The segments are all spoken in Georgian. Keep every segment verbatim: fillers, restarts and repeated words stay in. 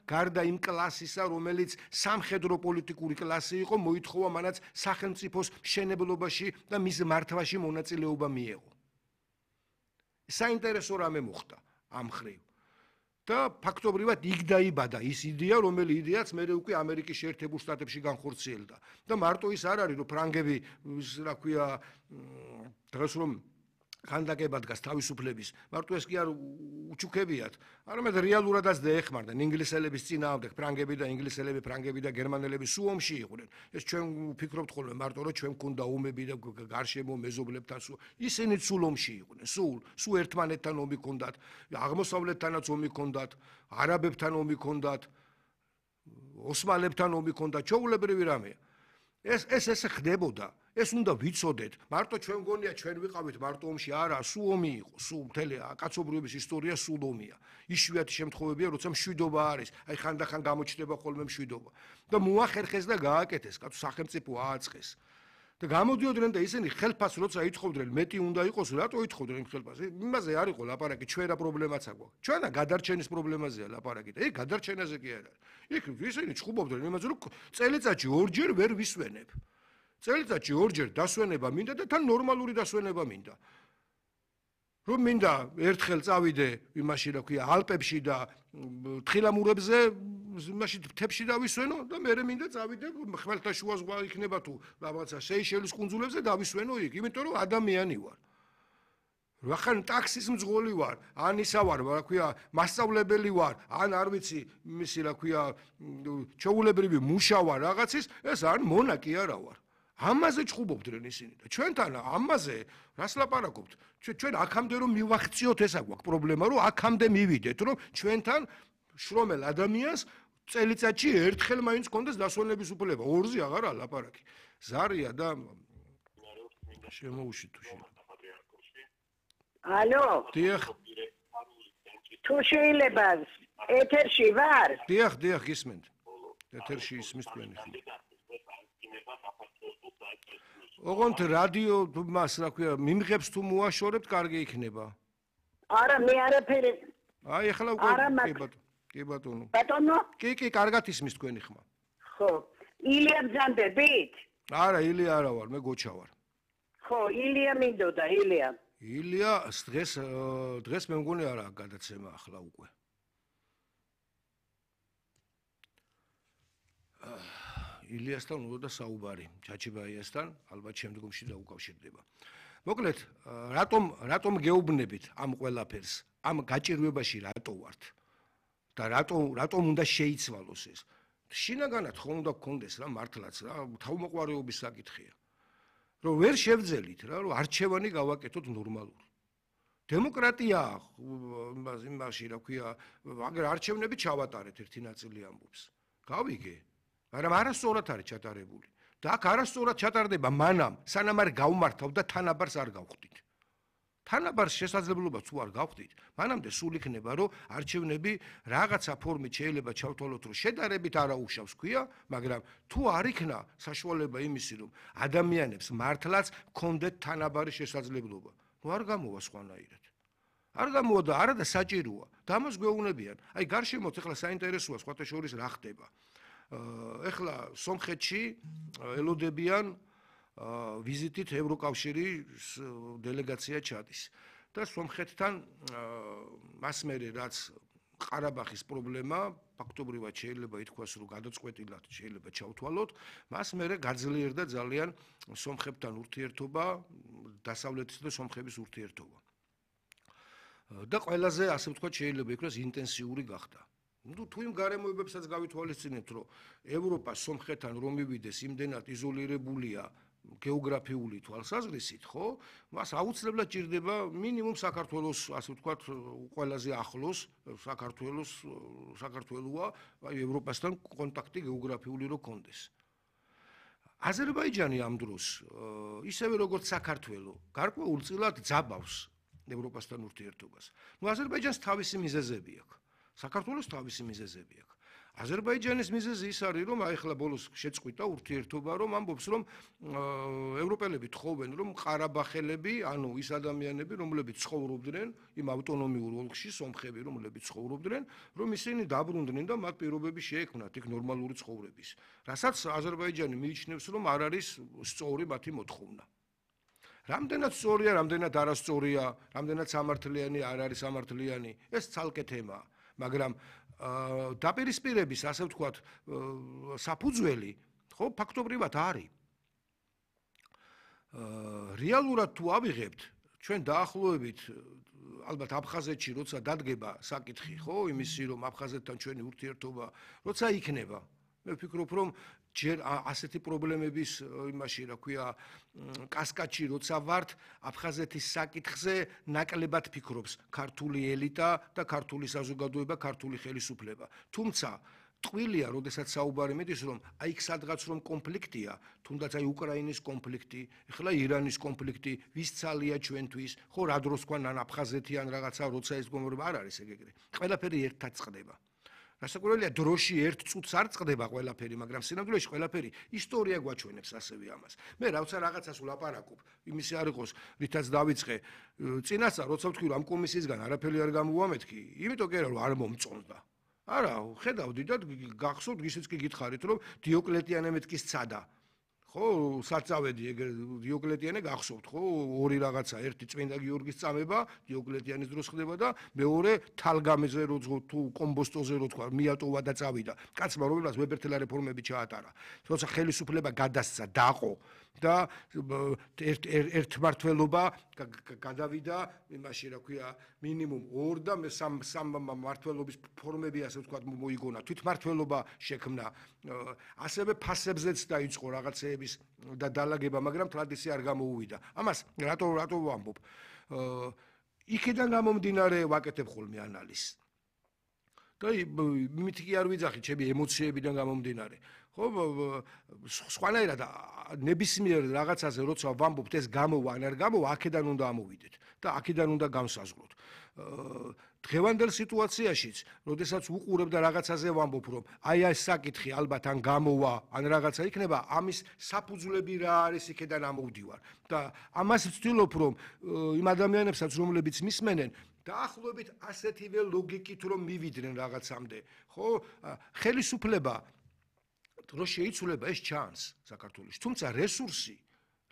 გარდა იმ კლასისა, რომელიც სამხედრო პოლიტიკური კლასი იყო, მოითხოვა მანაც სახელმწიფოს მშენებლობაში და მის მართვაში მონაწილეობა მიეღო. საინტერესო რამე მოხდა ამ ხრივ. და ფაქტობრივად იქ დაიბადა ის იდეა, რომელიც იდეაც მე უკვე ამერიკის შეერთებულ შტატებში განხორციელდა. და მარტო ის არ არის, რომ ფრანგები, რა ქვია, დღეს რომ ხანდაკებად გას თავისუფლების, მარტო ეს კი არ უჩუქებიათ, არამედ რეალურადაც დაეხმარდნენ ინგლისელების წინააღმდეგ, ფრანგები და ინგლისელები, ფრანგები და გერმანელები სულ ომში იყვნენ. ეს ჩვენ ვფიქრობთ ხოლმე მარტო რომ ჩვენ გქონდა ომები და გარშემო მეზობლებთან სულ, ისინი სულ ომში იყვნენ, სულ, სულ ერთმანეთთან ომი ჰქონდათ, აღმოსავლეთთანაც ომი ჰქონდათ, არაბებთან ომი ჰქონდათ, ოსმალებთან ომი ჰქონდათ, ჩვეულებრივი რამეა. ეს ეს ესე ხდებოდა. ეს უნდა ვიცოდეთ. მარტო ჩვენ გონია ჩვენ ვიყავით მარტო ომში, არა, სულ ომი იყო, სულ მთელი კაცობრიობის ისტორია სულ ომია. იშვიათი შემთხვევებია, როცა მშვიდობა არის, აი ხანდახან გამოჩნდება ხოლმე მშვიდობა. და მოახერხეს და გააკეთეს, კაცო სახელმწიფო ააწყეს. და გამოდიოდნენ და ისინი ხელფას როცა ითხოვდნენ, მეტი უნდა იყოს, რატო ითხოვდნენ იმ ხელფას? იმაზე არ იყო ლაპარაკი, ჩვენა პრობლემაც აქვს. ჩვენა გადარჩენის პრობლემაზეა ლაპარაკი და ეგ გადარჩენაზე კი არ არის. იქ ისინი ჭუბობდნენ იმაზე, რომ წელიწადში ორჯერ ვერ ვისვენებ. წელიწადში ორჯერ დასვენება მინდა და თან ნორმალური დასვენება მინდა. რომ მინდა ერთხელ წავიდე იმაში რა ქვია ალპებში და თხილამურებზე იმაში მთებში დავისვენო და მე მინდა წავიდე ხმელთაშუა ზღვა იქნება თუ რაღაცა სეიშელის კუნძულებზე დავისვენო იქ, იმიტომ რომ ადამიანი ვარ. რახან ტაქსის მძღოლი ვარ, ან ისა ვარ, რა ქვია, მასწავლებელი ვარ, ან არ ვიცი, იმისი რა ქვია, ჩვეულებრივი მუშა ვარ რაღაცის, ეს არ მონა კი არა ვარ. ამაზე ჭუბობდნენ ისინი და ჩვენთან ამაზე რას ლაპარაკობთ? ჩვენ აქამდე რომ მივახციოთ ესა გვაქვს პრობლემა, რომ აქამდე მივიდეთ, რომ ჩვენთან შრომელ ადამიანს წელიწადში ერთხელ მაინც კონდეს დასვენების უფლება, ორზე აღარა ლაპარაკი. ზარია და შემოუშვი თუ შეიძლება. ალო. დიახ. თუ შეიძლება ეთერში ვარ? დიახ, დიახ, გისმენთ. ეთერში ისმის თქვენი ხმა. ოღონდ რადიო მას რა ქვია მიმღებს თუ მოაშორებთ, კარგი იქნება. არა, მე არაფერი. აი, ახლა უკვე კი ბატონო. კი ბატონო. ბატონო? კი, კი, კარგად ისმის თქვენი ხმა. ხო. ილია ბძანდებით? არა, ილია არა ვარ, მე გოჩა ვარ. ხო, ილია მინდოდა, ილია. ილია დღეს დღეს მე მგონი არა გადაცემა ახლა უკვე. ილიასთან უნდა საუბარი, ჩაჩიბაიასთან, ალბათ შემდგომში დაუკავშირდება. მოკლედ, რატომ რატომ გეუბნებით ამ ყველაფერს, ამ გაჭირვებაში რატო ვართ და რატომ რატომ უნდა შეიცვალოს ეს? შინაგანად ხომ უნდა გქონდეს რა მართლაც რა, თავმოყვარეობის საკითხია. რომ ვერ შევძელით რა, რომ არჩევანი გავაკეთოთ ნორმალური. დემოკრატია იმაში რა ქვია, აგერ არჩევნები ჩავატარეთ ერთი ნაწილი ამბობს. გავიგე მაგრამ არასწორად არის ჩატარებული. და აქ არასწორად ჩატარდება მანამ, სანამ არ გავმართავ და თანაბარს არ გავხდით. თანაბარს შესაძლებლობა თუ არ გავხდით, მანამდე სულ იქნება, რომ არჩევნები რაღაცა ფორმით შეიძლება ჩავთვალოთ, რომ შედარებით არაუშავს ქვია, მაგრამ თუ არ იქნა საშუალება იმისი, რომ ადამიანებს მართლაც გქონდეთ თანაბარი შესაძლებლობა, ნუ არ გამოვა სხვანაირად. არ გამოვა და არა და საჭიროა. და ამას გვეუბნებიან. აი გარშემოთ ახლა საინტერესოა სხვათა შორის რა ხდება. ეხლა სომხეთში ელოდებიან ვიზიტით ევროკავშირის დელეგაცია ჩადის და სომხეთთან მას მერე რაც ყარაბაღის პრობლემა ფაქტობრივად შეიძლება ითქვას რომ გადაწყვეტილად შეიძლება ჩავთვალოთ მას მერე გაძლიერდა ძალიან სომხებთან ურთიერთობა დასავლეთის და სომხების ურთიერთობა და ყველაზე ასე ვთქვათ შეიძლება იქნას ინტენსიური გახდა ну თუ იმ გარემოებებსაც გავითვალისწინებთ რომ ევროპა სომხეთთან რომ მივიდეს იმდენად იზოლირებულია გეოგრაფიული თვალსაზრისით ხო მას აუცილებლად ჭირდება მინიმუმ საქართველოს ასე ვთქვათ ყველაზე ახლოს საქართველოს საქართველოა აი ევროპასთან კონტაქტი გეოგრაფიული რო კონდეს აზერბაიჯანი ამ დროს ისევე როგორც საქართველო გარკვეულწილად ძაბავს ევროპასთან ურთიერთობას ну აზერბაიჯანს თავისი მიზეზები აქვს საქართველოს თავისი მიზეზები აქვს აზერბაიჯანის მიზეზი ის არის, რომ აი ახლა ბოლოს შეწყვიტა ურთიერთობა, რომ ამბობს, რომ ევროპელები თხოვენ, რომ ყარაბახელები, ანუ ის ადამიანები, რომლებიც ცხოვრობდნენ იმ ავტონომიურ ოლქში, სომხები, რომლებიც ცხოვრობდნენ, რომ ისინი დაბრუნდნენ და მათ პირობები შეექმნათ იქ ნორმალური ცხოვრების. რასაც აზერბაიჯანი მიიჩნევს, რომ არ არის სწორი მათი მოთხოვნა. რამდენად სწორია, რამდენად არასწორია, რამდენად სამართლიანი არ არის სამართლიანი, ეს ცალკე თემაა, მაგრამ დაპირისპირების, ასე ვთქვათ, საფუძველი, ხო, ფაქტობრივად არის. რეალურად თუ ავიღებთ, ჩვენ დაახლოებით ალბათ აფხაზეთში როცა დადგება საკითხი, ხო, იმისი, რომ აფხაზეთთან ჩვენი ურთიერთობა როცა იქნება, მე ვფიქრობ, რომ ჯერ ასეთი პრობლემების იმაში, რა ქვია, კასკადში როცა ვართ, აფხაზეთის საკითხზე ნაკლებად ფიქრობს ქართული ელიტა და ქართული საზოგადოება, ქართული ხელისუფლება. თუმცა ტყუილია, როდესაც საუბარი მიდის, რომ აი იქ სადღაც რომ კონფლიქტია, თუნდაც აი უკრაინის კონფლიქტი, ეხლა ირანის კონფლიქტი, ვის ცალია ჩვენთვის, ხო, რა დროს თქვა ან აფხაზეთი ან რაღაცა, როცა ეს გომრობა არ არის ეგ ეგრე. ყველაფერი ერთად წყდება. რასაკვირველია, დროში ერთ წუთს არ წყდება ყველაფერი, მაგრამ სინამდვილეში ყველაფერი ისტორია გვაჩვენებს ასევე ამას. მე რაცა რაღაცას ვლაპარაკობ, იმისი არ იყოს, რითაც დავიწყე, წინასწარ როცა ვთქვი, რომ ამ კომისიისგან არაფერი არ გამოვამეთქი, იმიტომ კი არა, რომ არ მომწონდა. არა, ხედავდი და გახსოვთ, ისიც კი გითხარით, რომ დიოკლეტიანე მეთქის ცადა. ხო, საწავედი ეგ დიოკლეტიანე გახსოვთ, ხო, ორი რაღაცა, ერთი წმინდა გიორგის წამება, დიოკლეტიანის დროს ხდება და მეორე თალგამეზე რო თუ კომბოსტოზე რო თქვა, მიატოვა და წავიდა. კაცმა, რომელსაც ვებერთელა რეფორმები ჩაატარა. თორსა ხელისუფლება გადასცა, დაყო და ერთმართველობა გადავიდა იმაში, რა ქვია, მინიმუმ ორ და სამ სამ მმართველობის ფორმები, ასე ვთქვათ, მოიგონა. თვითმმართველობა შექმნა. ასევე ფასებზეც დაიწყო რაღაცეების და დალაგება, მაგრამ ტრადიცია არ გამოუვიდა. ამას რატო რატო ვამბობ? იქიდან გამომდინარე ვაკეთებ ხოლმე ანალიზს. და იმით კი არ ვიძახი, ჩემი ემოციებიდან გამომდინარე. ხო, სხვანაირად ნებისმიერ რაღაცაზე როცა ვამბობთ, ეს გამოვა ან არ გამოვა, აქედან უნდა ამოვიდეთ და აქედან უნდა განსაზღვროთ. დღევანდელ სიტუაციაშიც, როდესაც უყურებ და რაღაცაზე ვამბობ, რომ აი ეს საკითხი ალბათ ან გამოვა, ან რაღაცა იქნება, ამის საფუძვლები რა არის, იქედან ამოვდივარ. და ამას ვცდილობ, რომ იმ ადამიანებსაც, რომლებიც მისმენენ, დაახლოებით ასეთივე ლოგიკით რომ მივიდნენ რაღაცამდე, ხო? ხელისუფლება რო შეიცვლება ეს ჩანს საქართველოში, თუმცა რესურსი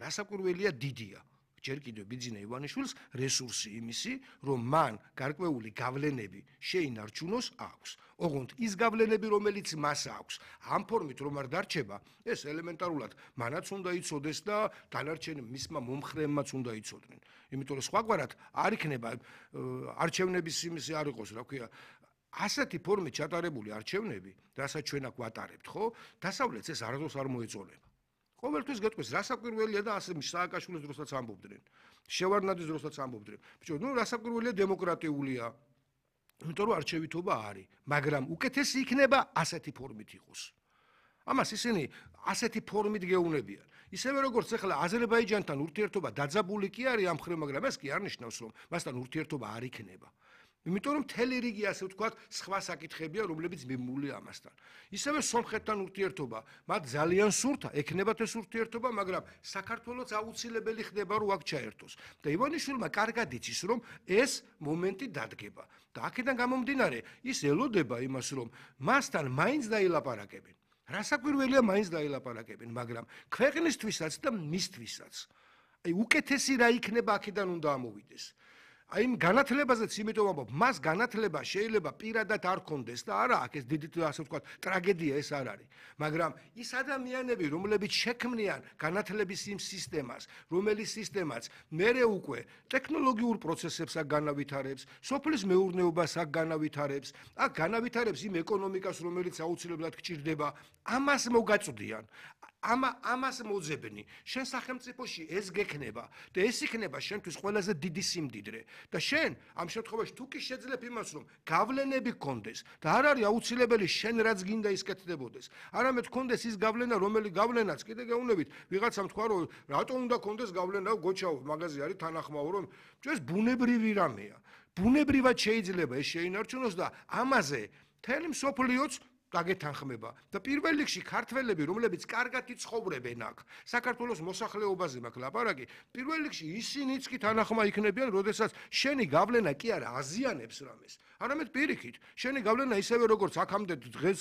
რასაკვირველია დიდია. ჯერ კიდევ ბიძინა ივანიშვილს რესურსი იმისი, რომ მან გარკვეული გავლენები შეინარჩუნოს აქვს. ოღონდ ის გავლენები, რომელიც მას აქვს, ამ ფორმით რომ არ დარჩება, ეს ელემენტარულად მანაც უნდა იცოდეს და დანარჩენი მისმა მომხრეებმაც უნდა იცოდნენ. იმიტომ რომ სხვაგვარად არ იქნება არჩევნების იმისი არ იყოს, რა ქვია, ასეთი ფორმით ჩატარებული არჩევნები, რასაც ჩვენ აქ ვატარებთ, ხო? დასავლეთს ეს არასდროს არ მოეწონება. ყოველთვის გეტყვის, რასაკვირველია და ასე სააკაშვილის დროსაც ამბობდნენ. შევარდნაძის დროსაც ამბობდნენ. ბიჭო, ნუ რასაკვირველია დემოკრატიულია. იმიტომ რომ არჩევითობა არის, მაგრამ უკეთესი იქნება ასეთი ფორმით იყოს. ამას ისინი ასეთი ფორმით გეუნებიან. ისევე როგორც ახლა აზერბაიჯანთან ურთიერთობა დაძაბული კი არის ამ მხრივ, მაგრამ ეს კი არ ნიშნავს, რომ მასთან ურთიერთობა არ იქნება. იმიტომ რომ მთელი რიგი, ასე ვთქვათ, სხვა საკითხებია, რომლებიც მიმულია ამასთან. ისევე სომხეთთან ურთიერთობა, მათ ძალიან სურთა, ექნებათ ეს ურთიერთობა, მაგრამ საქართველოს აუცილებელი ხდება, რომ აქ ჩაერთოს. და ივანიშვილმა კარგად იცის, რომ ეს მომენტი დადგება. და აქედან გამომდინარე, ის ელოდება იმას, რომ მასთან მაინც დაილაპარაკებენ. რასაკვირველია, მაინც დაილაპარაკებენ, მაგრამ ქვეყნისთვისაც და მისთვისაც. აი, უკეთესი რა იქნება, აქედან უნდა ამოვიდეს. აი იმ განათლებაზეც იმიტომ ვამბობ, მას განათლება შეიძლება პირადად არ ქონდეს და არა, აქ ეს დიდი ასე ვთქვათ, ტრაგედია ეს არ არის. მაგრამ ის ადამიანები, რომლებიც შექმნიან განათლების იმ სისტემას, რომელიც სისტემაც მერე უკვე ტექნოლოგიურ პროცესებს აქ განავითარებს, სოფლის მეურნეობას აქ განავითარებს, აქ განავითარებს იმ ეკონომიკას, რომელიც აუცილებლად გჭირდება, ამას მოგაწვდიან. ამა ამას მოძებნი. შენ სახელმწიფოში ეს გექნება და ეს იქნება შენთვის ყველაზე დიდი სიმდიდრე. და შენ ამ შემთხვევაში თუ კი შეძლებ იმას, რომ გავლენები გქონდეს და არ არის აუცილებელი შენ რაც გინდა ის კეთდებოდეს. არამედ გქონდეს ის გავლენა, რომელი გავლენაც კიდე გეუნებით, ვიღაცამ თქვა, რომ რატომ უნდა გქონდეს გავლენა, გოჩაო, მაგაზე არის თანახმაო, რომ ეს ბუნებრივი რამეა. ბუნებრივად შეიძლება ეს შეინარჩუნოს და ამაზე მთელი მსოფლიოც დაგეთანხმება და პირველ რიგში ქართველები, რომლებიც კარგად იცხოვრებენ აქ, საქართველოს მოსახლეობაზე მაქვს ლაპარაკი, პირველ რიგში ისინიც კი თანახმა იქნებიან, როდესაც შენი გავლენა კი არა აზიანებს რამეს, არამედ პირიქით, შენი გავლენა ისევე როგორც აქამდე დღეს